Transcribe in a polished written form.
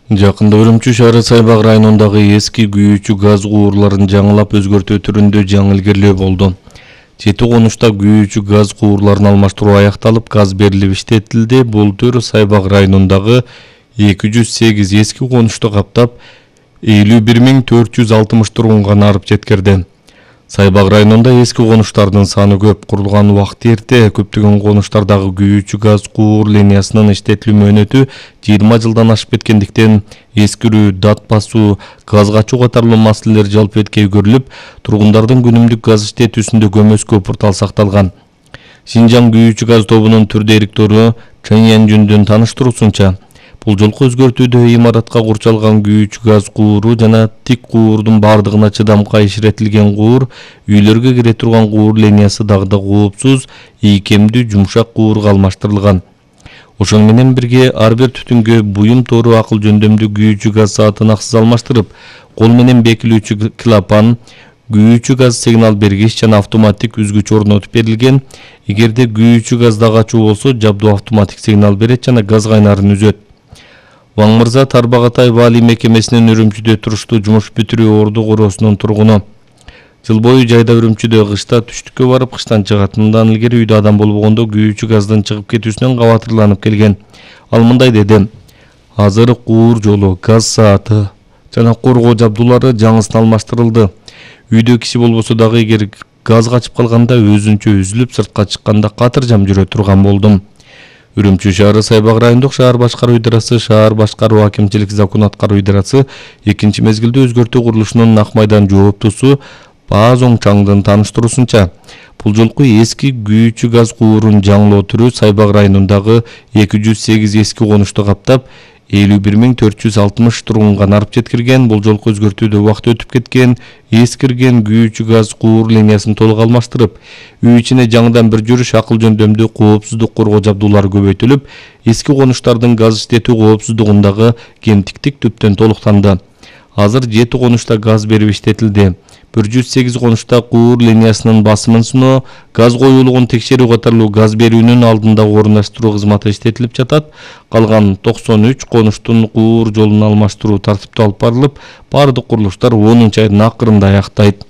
Жакында Үрүмчү шаары Сайбак районундагы эски күйүүчү газ куурларын жаңылап өзгөртүү түрүндө жаңы илгерилөө болду. 7 конушта күйүүчү газ куурларын алмаштыруу аякталып, газ берилип иштетилди. Бул төр Сайбак районундагы 208 эски конушту каптап, 51.460 тургунга нарып жеткирди. Сайбак районунда эски конуштардын саны көп, курулган убакыт эрте. Көптөгөн конуштардагы күйүүчү газ куур линиясынын иштетилүү мөөнөтү 20 жылдан ашып кеткендиктен эскирүү, дат басуу, газ качуу катарлуу маселелер жалпетке көрүлүп, тургундардын күнүмдүк газ иштетүүсүндө көмөскө портал сакталган. Шинжаң күйүүчү газ тобунун түр директору Чен Янжүндүн таныштыруусунча, бул жолку өзгөртүүдө имаратка курчалган күйүүчү газ кууру жана тик куурдун бардыгына чыдамкай ишретилген куур, үйлөргө кире турган куур линиясы дагы да коопсуз, ийкемдүү жумшак куурга алмаштырылган. Ошону менен бирге ар бир түтүнгө буюм тору акыл жөндөмдүү күйүүчү газ саатын аксыз алмаштырып, кол менен бекилүүчү клапан, күйүүчү газ сигнал бергич жана автоматтик үзгүч орнотуп берилген. Эгерде күйүүчү газда качуу болсо, жабдуу автоматтик сигнал берет жана газ кайнарын үзөт. Ваң Мырза Тарбағатай Вали мекемесинин Үрүмчүдө туруштуу жумуш бүтүрүү орду короосунун тургуну. Жыл бою жайда Үрүмчүдө кышта түштүккө барып кыштан чыгат. Мындан илгери үйдө адам болбогондо күйүүчү газдын чыгып кетүүсүнөн кабатырланып келген. Ал мындай деди: азыр куур жолу, газ сааты жана коргоо жабдуулары жаңысына алмаштырылды. Үйдө киши болбосо дагы эгер газ качып калганда өзүнчө үзүлүп сыртка чыкканда катыржам жүрө турган болдум. Үрүмчү шаары Сайбак райондук шаар башкаруу идарасы, шаар башкаруу акимчилик закон аткаруу идарасы экинчи мезгилде өзгөртүү курулушунун Ак майдан жооптусу Баазоң Чаңдын таныштыруусунча, бул жолку эски күйүүчү газ куурун жаңылоо түрү Сайбак районундагы 208 эски конушту каптап, 51.460 тургунга нарып жеткирген. Бул жолку өзгөртүүдө убакыт өтүп кеткен, эскирген күйүүчү газ куур линиясын толук алмаштырып, үй ичине жаңыдан бир жүрүш акыл жөндөмдүү коопсуздук коргоо жабдуулары көбөйтүлүп, эски конуштардын газ иштетүү коопсуздугундагы кемтиктик түптөн толуктанды. Азыр 7 конушта газ берип иштетилди. 108 конушта куур линиясынын басымын сыноо, газ коюулугун текшерүү катарлуу газ берүүнүн алдында орундаштыруу кызматы иштетилип жатат. Калган 93 конуштун куур жолун алмаштыруу тартиптүү алып барылып, бардык курулуштар 10 айдын акырында аяктайт.